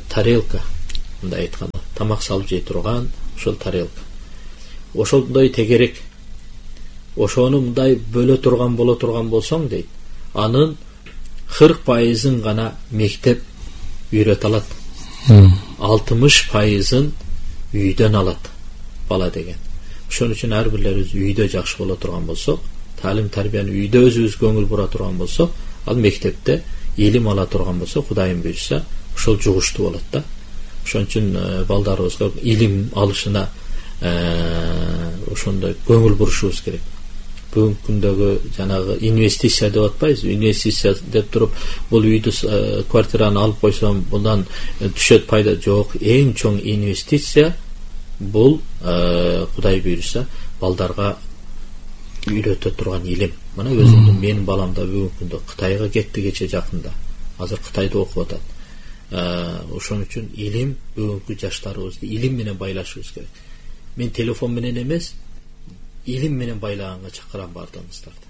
тарелка, мындай айтканда, тамак салып жей турган ошол тарелка. Ошондой тегерек. Ошону мындай бөлө турган боло турган болсоң дейт, анын кырк пайызын гана мектеп үйрөтө алат. алтымыш пайызын үйдөн алат бала деген. Ошон үчүн ар бирлерибиз үйдө жакшы боло турган болсок, таалим тарбияны үйдө өзүбүз көңүл бура турган болсок, ал мектепте илим ала турган болсок, Кудайым буйрса, ошол жугуштуу болот да. Ошон үчүн балдарыбызга илим алышына ошондой көңүл бурушубуз керек. Бүгүнкү күндөгү жанагы инвестиция деп атпайбызбы? Инвестиция деп туруп, бул үйдү, квартираны алып койсом, bundan түшөт пайда жок. Эң чоң инвестиция бул Кудай буйрса, балдарга үйрөтө турган илим. Мына өзүмдүн менин балам да бүгүнкү күндө Кытайга кетти кече жакында. Азыр Кытайда окуп атат. Ошон үчүн илим бүгүнкү жаштарыбызды илим менен байлашыбыз керек. Мен телефон менен эмес, илим менен байлаганга чакырам бардыгыңыздарды.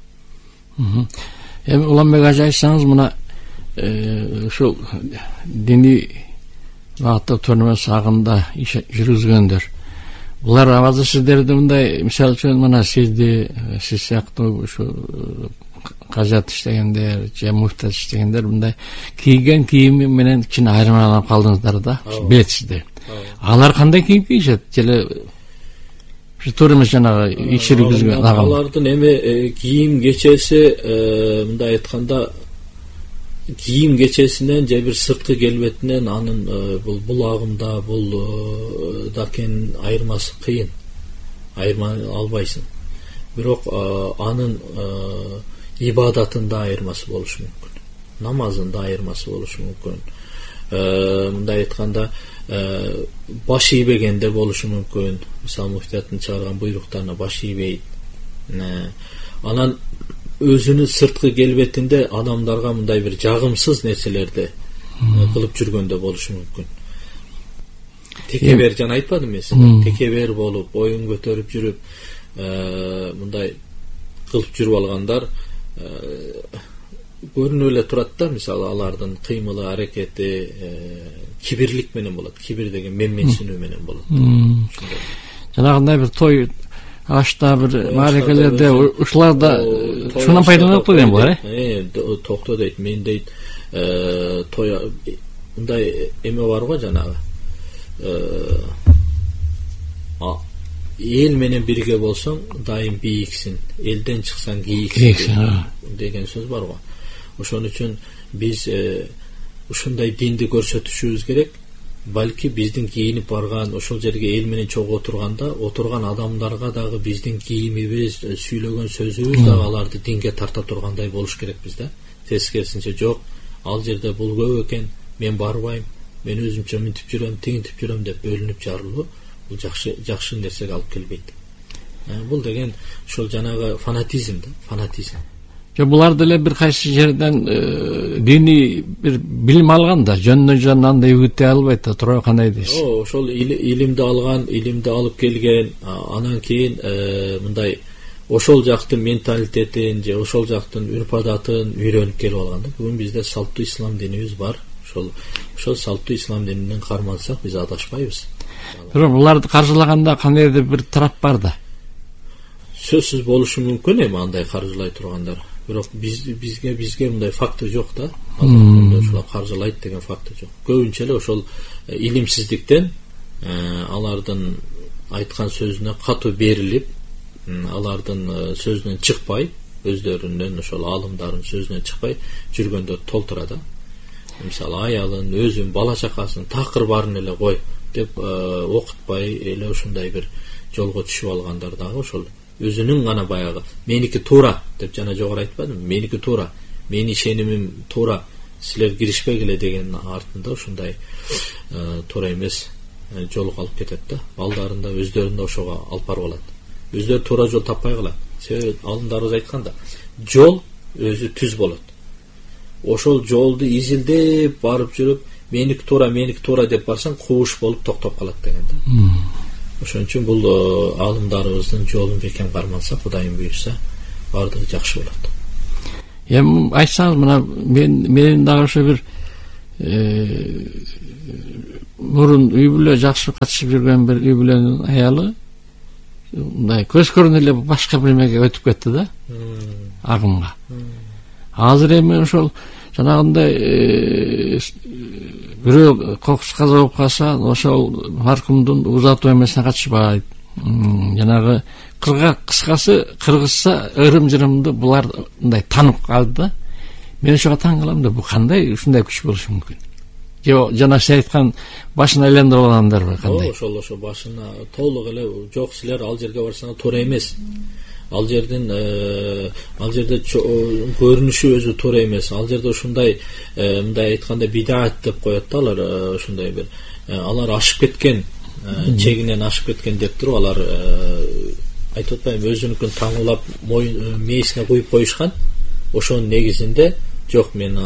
Эми Уланбек ажа айтсаңыз, мына ушул диний багытта төрмөс агында иш жүргүзгөндөр, булар абазы сиздерди мындай, мисалы үчүн мына сизди, сиз сыяктуу ушу кажат иштегендер, же муфтат иштегендер мындай кийген кийими менен кичине айырмаланып калдыңыздар да, билетсиздер. Алар кандай кийим кийишет? Желе туура эмес жанагы иш жүргүзгөн агам. Алардын эми кийим кечеси, мындай айтканда, кийим кечесинен же бир сырткы келбетинен анын бул булагымда, бул дакен айырмасы кыйын. Айырма албайсың. Бирок анын ибадатында айырмасы болушу мүмкүн. Намазында айырмасы болушу мүмкүн. Мындай айтканда, баш ийбегенде болушу мүмкүн. Мисалы муфтияттын чыгарган буйруктарына баш ийбейт. Анан өзүнүн сырткы келбетинде адамдарга мындай бир жагымсыз нерселерди кылып жүргөндө болушу мүмкүн. Текебер жана айтпадым мен сизге, текебер болуп, боюн көтөрүп жүрүп, мындай кылып жүрүп алгандар көрүнүп эле турат да. Мисалы алардын кыймылы, аракети кибирлик менен болот. Кибир деген менменсинүү менен болот. Жанагындай бир той, ашта бир маарекелерде ушуларда ушундан пайдаланып койгон булар, э? Токто дейт, мен дейт, той мындай эме бар го жанагы. Эл менен бирге болсоң, дайым бийиксин, элден чыксаң кийиксин деген сөз бар го. Ошон үчүн биз ушундай динди көрсөтүшүбүз керек. Балки биздин кийинип барган ошол жерге эл менен чогуу отурганда, отурган адамдарга дагы биздин кийимибиз, сүйлөгөн сөзүбүз дагы аларды динге тарта тургандай болуш керек бизде. Тескерисинче жок, ал жерде бул көп экен, мен барбайм, мен өзүмчө мынтип жүрөм, тигинтип жүрөм деп бөлүнүп жарылуу, бул жакшы жакшы нерсеге алып келбейт. Бул деген ошол жанагы фанатизм да, фанатизм. Же булар деле бир кайсы жерден диний бир билим алган да, жөндөн жөн андай үгүттөй албайт да, туура кандай дейсиз? О, ошол илимди алган, илимди алып келген, анан кийин мындай ошол жактын менталитетин же ошол жактын үрп-адатын үйрөнүп келип алган да. Бүгүн бизде салттуу ислам динибиз бар. Ошол ошол салттуу ислам дининен кармансак биз адашпайбыз. Бирок буларды каржылаганда кандайдыр бир тарап бар да. Сөзсүз болушу мүмкүн эми андай каржылай тургандар. Бирок биз бизге бизге мындай факты жок да. Ошолар каржылайт деген факты жок. Көбүнчө эле ошол илимсиздиктен алардын айткан сөзүнө катуу берилип, алардын сөзүнөн чыкпай, өздөрүнүн ошол аалымдардын сөзүнөн чыкпай жүргөндө толтура да. Мисалы аялын, өзүн, бала чакасын такыр баарын эле кой деп окутпай эле ушундай бир жолго түшүп алгандар дагы ошол өзүнүн гана баягы меники туура деп жана жогору айтпадым, меники туура, менин ишенимим туура, силер киришпегиле деген артында ушундай туура эмес жолго алып кетет да. Балдарын да өздөрүн да ошого алып барып алат. Өздөрү туура жол таппай калат. Себеби алымдарыбыз айтканда, жол өзү түз болот. Ошол жолду изилдеп барып жүрүп, меники туура, меники туура деп барсаң, кууш болуп токтоп калат деген да. Ошон үчүн бул аалымдарыбыздын жолун бекем кармансак, Кудайым буйрса, баардыгы жакшы болот. Эми айтсаңыз, мына мен менин дагы ошо бир мурун үй бүлө жакшы катышып жүргөн бир үй бүлөнүн аялы мындай көз көрүнө эле башка бир эмеге өтүп кетти да, агымга. Азыр эми ошол жанагындай бирөө кокус каза болуп калса, ошол маркумдун узатуу эмесине катышпайт. Жанагы кырга кыскасы кыргызча ырым-жырымды булар мындай таанып калды да. Мен ошого таң калам да, бул кандай ушундай күч болушу мүмкүн? Же жана сиз айткан башын айландырып алгандарбы кандай? Ошол ошо башына толук эле жок, силер ал жерге барсаңар туура эмес. Ал жерден ал жерде көрүнүшү өзү туура эмес. Ал жерде ушундай мындай айтканда бидаат деп коет да алар, ошондой бир алар ашып кеткен, чегинен ашып кеткен деп туруп алар айтып атпайбы, өзүнүкүн таңуулап мээсине куюп коюшкан. Ошонун негизинде жок, мен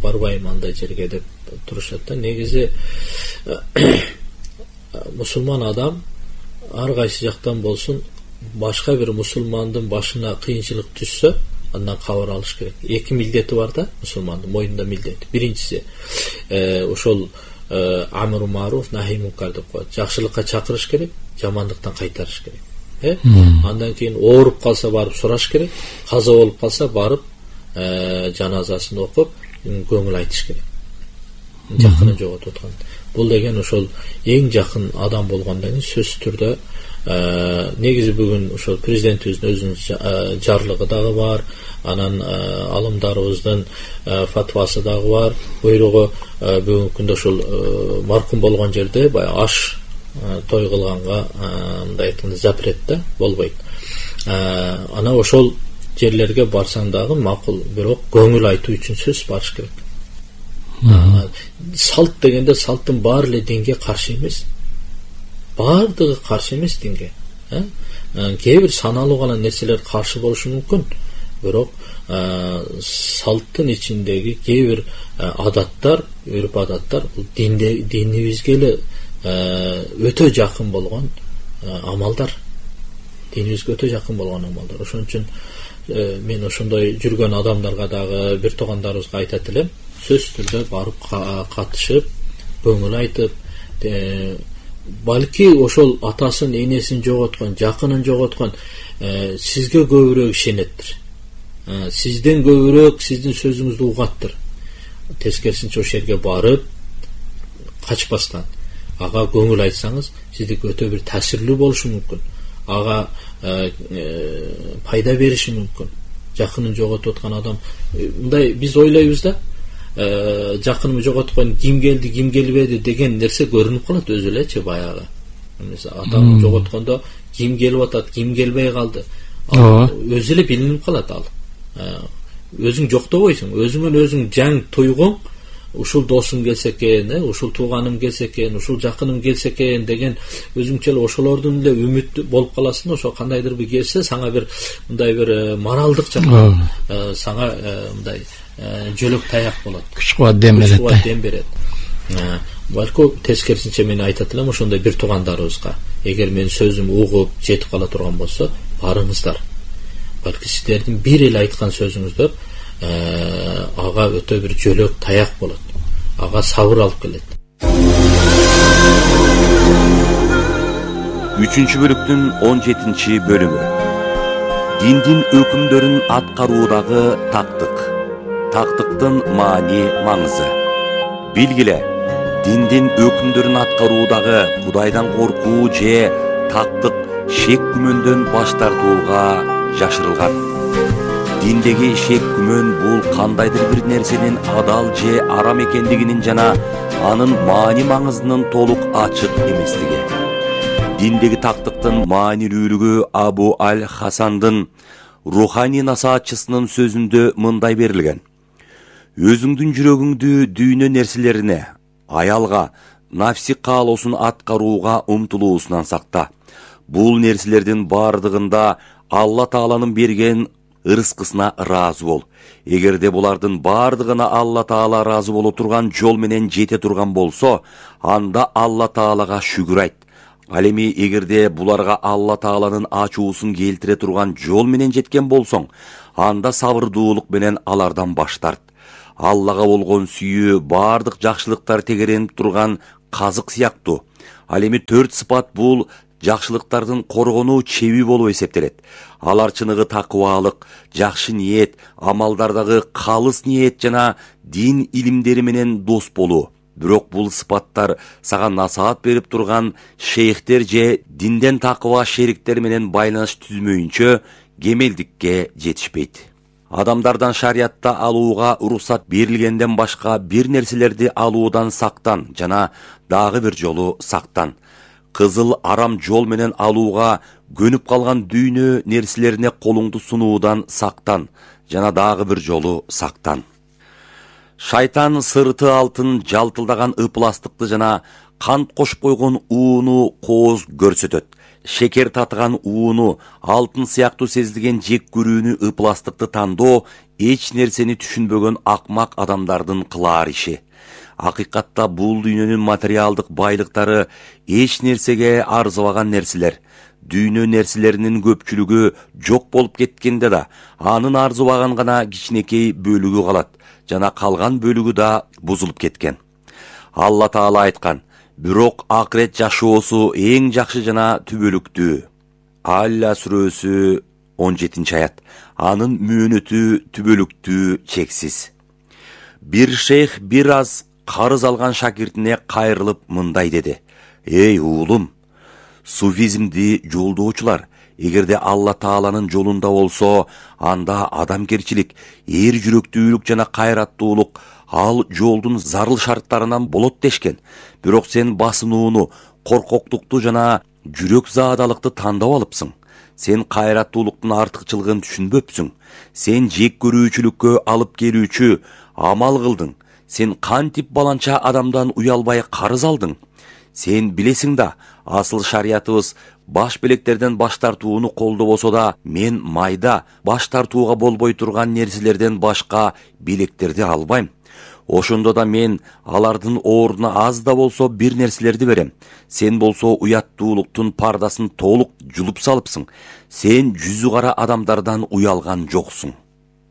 барбайм андай жерге деп турушат да. Негизи мусулман адам ар кайсы жактан болсун башка бир мусулмандын башына кыйынчылык түшсө, андан кабар алыш керек. Эки милдети бар да мусулмандын мойнунда милдети. Биринчиси ошол амру маруф нахи мункар деп коет. Жакшылыкка чакырыш керек, жамандыктан кайтарыш керек. Э? Андан кийин ооруп калса барып сураш керек, каза болуп калса барып жаназасын окуп көңүл айтыш керек. Жакынын жоготуп аткан. Бул деген ошол эң жакын адам болгондон кийин сөзсүз түрдө негизи бүгүн ошол президентибиздин өзүнүн жарлыгы дагы бар, анан алымдарыбыздын фатвасы дагы бар. Буйругу бүгүнкү күндө ошол маркум болгон жерде баягы аш той кылганга мындай айтканда запрет да, болбойт. Ана ошол жерлерге барсаң дагы макул, бирок көңүл айтуу үчүн сөз барыш керек. Салт дегенде салттын баары эле динге каршы эмес. Баардыгы каршы эмес динге. Кээ бир саналуу гана нерселер каршы болушу мүмкүн, бирок салттын ичиндеги кээ бир адаттар, үрп адаттар бул динибизге эле өтө жакын болгон амалдар. Динибизге өтө жакын болгон амалдар. Ошон үчүн мен ошондой жүргөн адамдарга дагы бир туугандарыбызга айтат элем, сөзсүз түрдө барып катышып, көңүл айтып, балки ошол атасын, энесин жоготкон, жакынын жоготкон сизге көбүрөөк ишенеттир. Сизден көбүрөөк сиздин сөзүңүздү угаттыр. Тескерисинче ошол жерге барып качпастан ага көңүл айтсаңыз, сиздики өтө бир таасирлүү болушу мүмкүн. Ага пайда бериши мүмкүн. Жакынын жоготуп аткан адам мындай биз ойлойбуз да, жакынымды жоготкон ким келди, ким келбеди деген нерсе көрүнүп калат өзү элечи баягы. Мисалы атамды жоготкондо ким келип атат, ким келбей калды. Өзү эле билинип калат ал. Өзүң жоктобойсуң, өзүңөн өзүң жаң туйгуң, ушул досум келсе экен, ушул тууганым келсе экен, ушул жакыным келсе экен деген өзүңчө эле ошолордун эле үмүт болуп каласың. Ошо кандайдыр бир келсе, сага бир мындай бир моралдык жактан сага мындай жөлөк таяк болот. Күч кубат дем берет. Күч кубат дем берет. Балку тескерисинче мен айтат элем ошондой бир туугандарыбызга, эгер менин сөзүм угуп жетип кала турган болсо, барыңыздар. Балки сиздердин бир эле айткан сөзүңүздөр ага өтө бир жөлөк таяк болот. Ага сабыр алып келет. үчүнчү бөлүктүн он жетинчи бөлүмү. Диндин өкүмдөрүн аткаруудагы тактык. Тактыктын маани маңызы. Билгиле, диндин өкүмдөрүн аткаруудагы Кудайдан коркуу же тактык шек күмөндөн баш тартууга жашырылган. Диндеги шек күмөн бул кандайдыр бир нерсенин адал же арам экендигинин жана анын маани маңызынын толук ачык эместиги. Диндеги тактыктын маанилүүлүгү Абу аль-Хасандын руханий насаатчысынын сөзүндө мындай берилген: өзүңдүн жүрөгүңдү дүйнө нерселерине, аялга, нафси каалоосун аткарууга умтулуусунан сакта. Бул нерселердин бардыгында Алла Тааланын берген ырыскысына ыраазы бол. Эгерде булардын бардыгына Алла Таала ыраазы боло турган жол менен жете турган болсо, анда Алла Таалага шүгүр айт. Ал эми эгерде буларга Алла Тааланын ачуусун келтире турган жол менен жеткен болсоң, анда сабырдуулук менен алардан баш тарт. Аллага болгон сүйүү бардык жакшылыктар тегеренип турган казык сыяктуу. Ал эми төрт сыпат бул жакшылыктардын коргонуу чеби болуп эсептелет. Алар чыныгы такыбалык, жакшы ниет, амалдардагы калыс ниет жана дин илимдери менен дос болуу. Бирок бул сыпаттар сага насаат берип турган шейхтер же динден такыба шериктер менен байланыш түзмөйүнчө кемелдикке жетишпейт. Адамдардан шариятта алууга уруксат берилгенден башка бир нерселерди алуудан сактан жана дагы бир жолу сактан. Кызыл арам жол менен алууга көнүп калган дүйнө нерселерине колуңду сунуудан сактан жана дагы бир жолу сактан. Шайтан сырты алтын жалтылдаган ыпластыкты жана кант кошуп койгон ууну кооз көрсөтөт. Шекер татыган ууну, алтын сыяктуу сезилген жек көрүүнү, ыпластыкты тандоо эч нерсени түшүнбөгөн акмак адамдардын кылаар иши. Акыйкатта бул дүйнөнүн материалдык байлыктары эч нерсеге арзыбаган нерселер. Дүйнө нерселеринин көпчүлүгү жок болуп кеткенде да, анын арзыбаган гана кичинекей бөлүгү калат жана калган бөлүгү да бузулуп кеткен. Алла Таала айткан: бирок акырет жашоосу эң жакшы жана түбөлүктүү. Алла сүрөсү он жетинчи аят. Анын мөөнөтү түбөлүктүү, чексиз. Бир шейх бир аз карыз алган шакиртине кайрылып мындай деди: Эй уулум, суфизмди жолдоочулар, эгерде Алла Тааланын жолунда болсо, анда адамгерчилик, эр жүрөктүүлүк жана кайраттуулук ал жолдун зарыл шарттарынан болот дешкен. Бирок сен басынууну, коркоктукту жана жүрөк заадалыкты тандап алыпсың. Сен кайраттуулуктун артыкчылыгын түшүнбөпсүң. Сен жек көрүүчүлүккө алып келүүчү амал кылдың. Сен кантип баланча адамдан уялбай карыз алдың. Сен билесиң да, асыл шариятыбыз баш белектерден баш тартууну колдобосо да, мен майда баш тартууга болбой турган нерселерден башка белектерди албайм. Ошондо да мен алардын ордуна аз да болсо бир нерселерди берем. Сен болсо уяттуулуктун пардасын толук жулуп салыпсың. Сен жүзү кара адамдардан уялган жоксуң.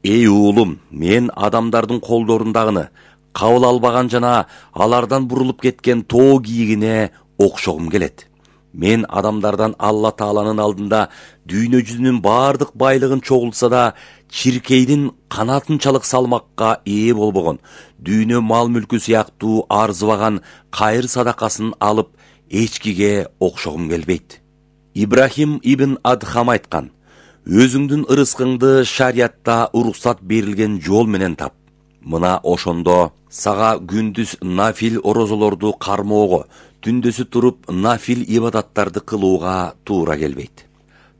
Эй уулум, мен адамдардын колдорундагыны, кабыл албаган жана алардан бурулуп кеткен тоо кийигине окшогум келет. Мен адамдардан Алла Тааланын алдында дүйнө жүзүнүн бардык байлыгын чогултса да, чиркейдин канатынчалык салмакка ээ болбогон, дүйнө мал мүлкү сыяктуу арзыбаган кайыр садакасын алып эчкиге окшогум келбейт. Ибрахим ибн Адхам айткан: өзүңдүн ырыскыңды шариятта уруксат берилген жол менен тап. Мына ошондо сага күндүз нафил орозолорду кармоого, түндөсү туруп нафил ибадаттарды кылууга туура келбейт.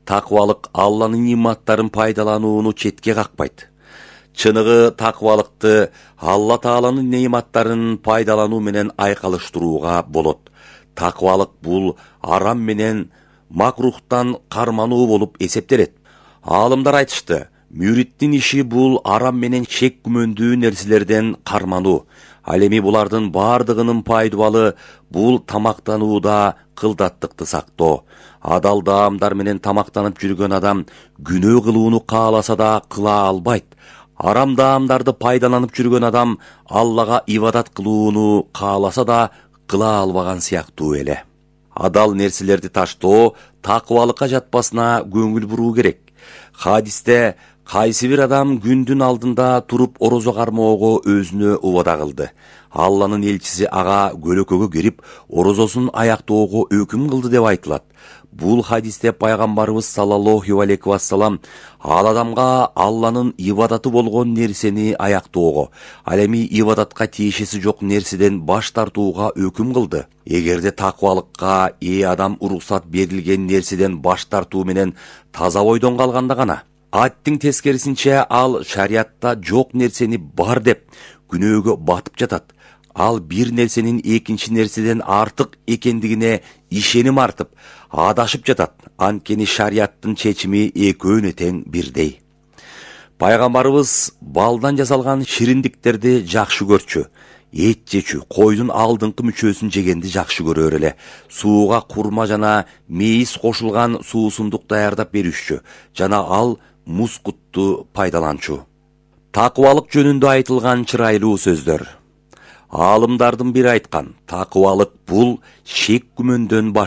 Такыбалык Алланын нематтарын пайдаланууну четке какпайт. Чыныгы такыбалыкты Алла Тааланын нематтарын пайдалануу менен айкалыштырууга болот. Такыбалык бул арам менен макрухтан кармануу болуп эсептелет. Аалымдар айтышты: мүриттин иши бул арам менен шек күмөндүү нерселерден кармануу. Ал эми булардын бардыгынын пайдубалы бул тамактанууда кылдаттыкты сактоо. Адал даамдар менен тамактанып жүргөн адам күнөө кылууну кааласа да кыла албайт. Арам даамдарды пайдаланып жүргөн адам Аллага ибадат кылууну кааласа да кыла албаган сыяктуу эле. Адал нерселерди таштоо такыбалыкка жатпасына көңүл буруу керек. Хадисте кайсы бир адам күндүн алдында туруп орозо кармоого өзүнө убада кылды. Алланын элчиси ага көлөкөгө кирип, орозосун аяктоого өкүм кылды деп айтылат. Бул хадисте пайгамбарыбыз саллаллаху алейхи вассалам ал адамга Алланын ибадаты болгон нерсени аяктоого, ал эми ибадатка тиешеси жок нерседен баш тартууга өкүм кылды. Эгерде такыбалыкка ээ адам уруксат берилген нерседен баш тартуу менен таза ойдон калганда гана, аттың тескерисинче ал шариятта жок нерсени бар деп күнөөгө батып жатат. Ал бир нерсенин экинчи нерседен артык экендигине ишеним артып, адашып жатат. Анткени шариаттын чечими экөөнө тең бирдей. Пайгамбарыбыз балдан жасалган шириндиктерди жакшы көрчү. эт жечү, койдун алдыңкы мүчөсүн жегенди жакшы көрөр эле. Сууга курма жана мейиз кошулган суусундук даярдап беришчү жана ал мускутту пайдаланчу. Такыбалык жөнүндө айтылган чырайлуу сөздөр. Аалымдардын бири айткан, такыбалык бул шек күмөндөн баш